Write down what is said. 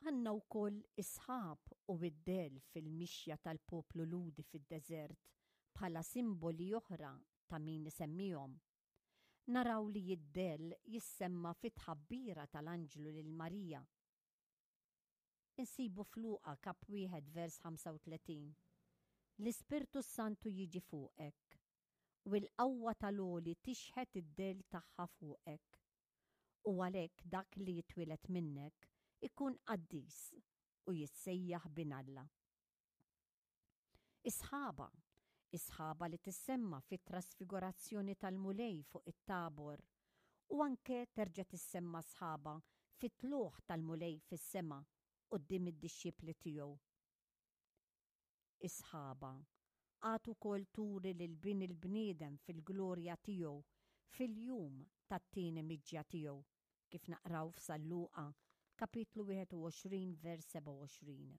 Għandna wkoll is-sħab u d-dell fil-mixja tal-poplu Lhudi fid-deżert bħala simboli oħra ta' min isemmihom. Naraw li d-dell jissemma fit-tħabbira tal-anġlu lil Marija. Insibu f'Luqa kap 1 vers 35, L-Ispirtu s-Santu jiġi fuqek, u l-qawwa tal-Għoli tixħet id-dell tagħha fuqek. U għalhekk dak li jitwieled minnek ikun qaddis u jissejjaħ Bin Alla. Is-sħaba, is-sħaba li tissemma fit-trasfigurazzjoni tal-Mulej fuq it-Tabor u anke terġa' tissemma sħaba fit-tlugħ tal-Mulej fis-sema quddiem id-dixxipli tiegħu. Is-sħaba għad ukoll turi lil Bin il-bniedem fil-glorja tiegħu fil-jum tat-tieni miġja tiegħu, kif naqraw f'San Luqa, kapitlu 21 vers 27.